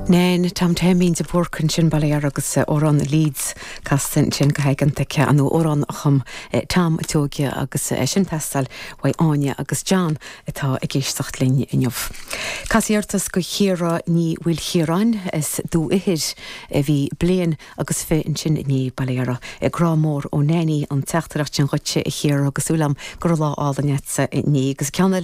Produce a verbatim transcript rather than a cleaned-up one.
Nan Tom Taimín de Búrc ansin bail ó Dhia agus amhrán Leeds casta ansin go haigeanta an amhrán a chum Tom Tóige agus sin teastáil ó Áine agus John atá ag éisteacht linn inniu. Casiartas go chéara ní bhfuil chéaráin is dú ihir a bhí bliain agus fi ansin inné baléara grá mór ó Nanny an teachtaireacht sin chugatsa a Chiara agus súil agam go raibh lá álainn agatsa inné agus ceann